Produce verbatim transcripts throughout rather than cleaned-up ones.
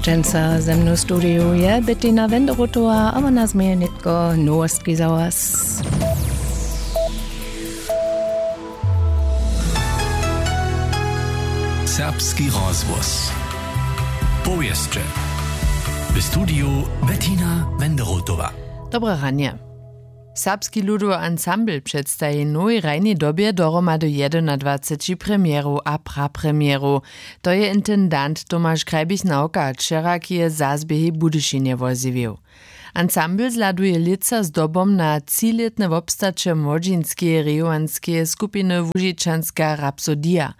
Dźensa ze mnu w studiju je Bettina Wenderotowa a wona změje nětko nowostki za was. Serbski rozhłos. Powěsće. W studiju Bettina Wenderotowa. Dobre ranje. Serbski ludowy ansambl předstaji w nowej hrajnej dobje dohromady jedynadwaceći premjerow a prapremjerow. To je intendant Tomaš Krajbich Nawka wčera k jeje zazběhej w Budyšinje wozjewił. Ansambl zhladuje lětsa zdobom na třilětne wobstaće młodźinskeje rejowanskeje skupiny Łužičanska rapsodija.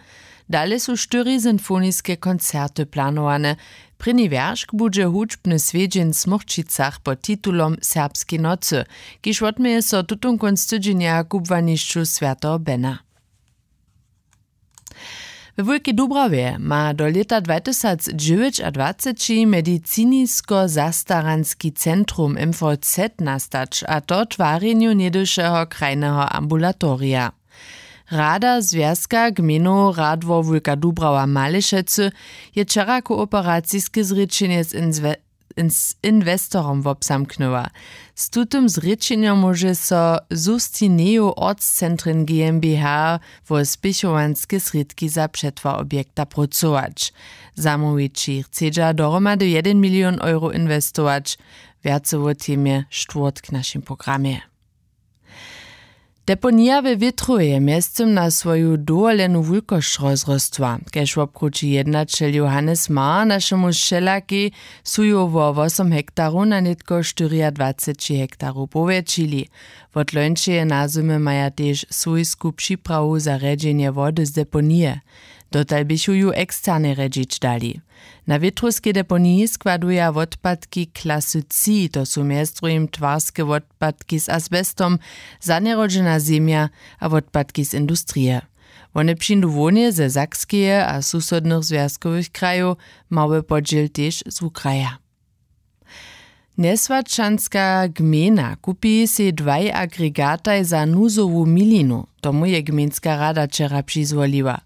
Dale su štyri sinfoniske koncerty planowane. Prěni wjeršk budźe hudźbny swjedźeń w Smórčicach pod titulom Serbskej nocy, kiž wotměje so tutón kónc tydźenja w kubłanišću swjateho Bena. We Wulkej Dubrawje ma do lěta dwatysacdźewjećadwaceći medicinisko-zastaranski centrum M V Z nastać, a to w twarjenju něhdyšeho krajneho ambulatorija. Rada Zwjazka gmejnow Radwor Wulka Dubrawa Malešecy je wčera kooperaciske zrěčenje z inzwe-, z inwestorom wobzamknyła. Z tutym zrěčenjom móže so Sustineju Ortscentren GmbH wo spěchowanske srědki za přetwar objekta prócować. Zamołwići chcedźa dohromady jedyn milion euro inwestować. Wjace wo temje štwórtk w našim programje. Deponija we Wětrowje je mjeztym na swoju dowolenu wulkosć rozrostła. Kaž wobkrući jednaćel Johannes Mar našemu sćelakej, su ju wo wosom hektarow na nětko štyriadwaceći hektarow powjetšili. Wot lońšeje nazymy maja tež swójsku připrawu za rjedźenje wody z deponije. Dotal běchu ju eksternje rjedźić dali. Na wětrowskej deponiji składuja wotpadki klasy tři, to su mjez druhim twarske wotpadki z asbestom, zanjerodźena zemja a wotpadki z industrije. Wone přińdu hłownje ze Sakskeje a susodnych zwjazkowych krajow, mały podźěl tež z wukraja. Njeswaćanska gmejna kupi sej dwaj agregataj za nuzowu milinu. Tomu je gmejnska rada wčera přizwoliła.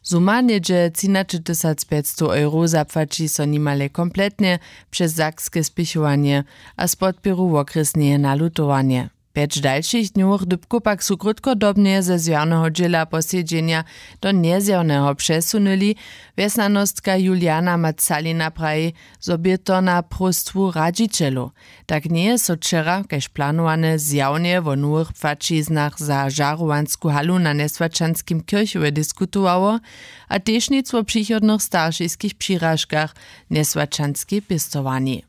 Suma něhdźe třinaćetysac pjećstow euro zapłaći so nimale kompletnje přez sakske spěchowanje a z podpěru wokrjesneje nalutowanje. Pjeć dalšich dnjowych dypkow pak su krótkodobnje ze zjawneho dźěla posedźenja do njezjawneho přesunyli. Wjesnjanostka Juliana Macalina praji, zo bě to na próstwu radźićelow. Tak njeje so wčera kaž planowane zjawnje wo nowych płaćiznach za žarowansku halu na njeswaćanskim kirchowje diskutowało, a tež nic wo přichodnych staršiskich přiražkach njeswaćanskej pěstowarni.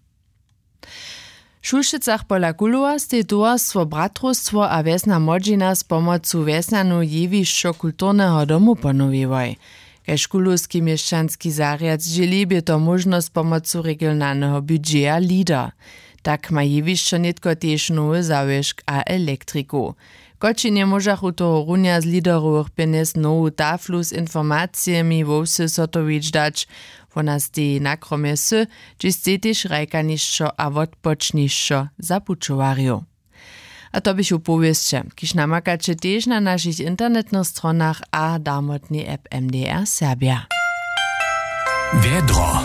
W Šulšicach pola Kulowa stej towarstwo Bratrowstwo a wjesna młodźina z pomocu wjesnjanu jewišćo kulturneho domu ponowiłoj. Kaž kulowski měšćanski zarjad zdźěli, bě to móžno z pomocu regionalneho budźeja LEADER. Tak ma jewišćo nětko tež nowy zawěšk a elektriku. Kočinje móžachu tohorunja z LEADERowych pjenjez nowu taflu z informacijemi wo wsy zhotowić dać. Wona steji na kromje wsy, hdźež steji tež hrajkanišćo a wotpočnišćo za pućowarjow. A to běchu powěsće, kiž namakaće tež na našich internetnych stronach a damotnej app M D R Serbja. Wjedro.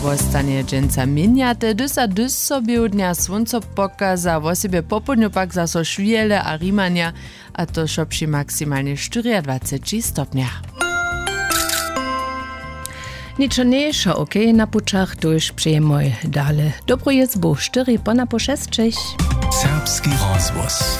Wostanje dźensa měnjate, hdyž a hdyž so běhu dnja słónco pokaza, wosebje popołdnju pak zaso šwjele a rimanja, a to wšo při maksimalnje štyriadwaceći stopnjach. Ničo njeje wšo okej na pućach, tuž přejemoj dale dobru jězbu, štyri ponapoł šesćich. Serbski rozhłos.